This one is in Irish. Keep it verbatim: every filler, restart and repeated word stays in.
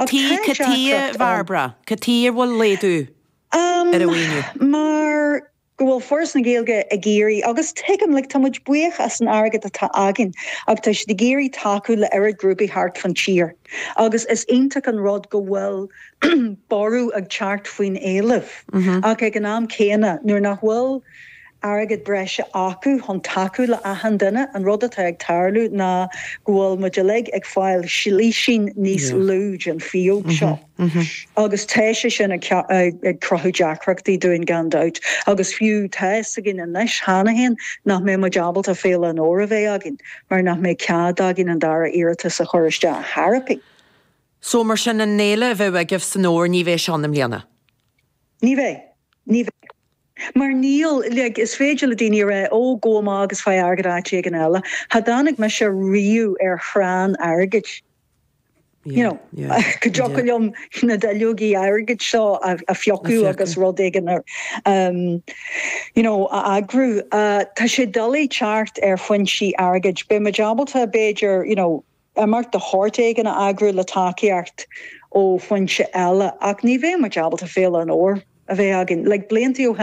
Tá Cad chuige, Barbara, cad chuige a bhfuil laghdú um, ar an mhaoiniú? Mar go bhfuil Foras na Gaeilge ag iarraidh agus tuigim like, tá muid buíoch as an airgead atá againn ach tá siad ag iarraidh tacú le oiread grúpaí thart fan tír. Agus is iontach an rud go bhfuil borradh ag teacht faoin éileamh mm -hmm. ach ag an am céanna nuair nach bhfuil airgead breise acu chun tacú le achan duine an rud atá ag tarlú ná go bhfuil muid uilig ag fáil slísín níos lú den phíóg seo. Mm -hmm. Agus tá sé sin ag cruthú deacrachtaí dúinn gan dabht, agus fiú tá a fhios againn anois cheana féin nach mbeidh muid ábalta Féile an Fhómhair a bheith againn, mar nach mbeidh cead againn an dara iarratas a chur isteach tharapí. So mar sin an fhéile a bheadh agaibh san fhómhar ní bheidh sé ann i mbliana. Ní bheidh ní bheidh. Mar níl like, is féidir le daoine rá ó gabh amach agus faigh airgead áit éigin eile. Cha dtáinig mise riamh ar chrann airgid. You know, go dtiocfadh liom na duilleogaí airgid seo a, a phiocadh agus rud éigin ar um, you know, a eagrú. Uh, tá sé doiligh teacht ar fhoinsí airgid. Beidh muid ábalta b'fhéidir you know, imeacht de shórt éigin a eagrú le tacaíocht ó fhoinse eile ach ní bheidh muid ábalta Féile an Fhómhair a bheith againn, like blianta ó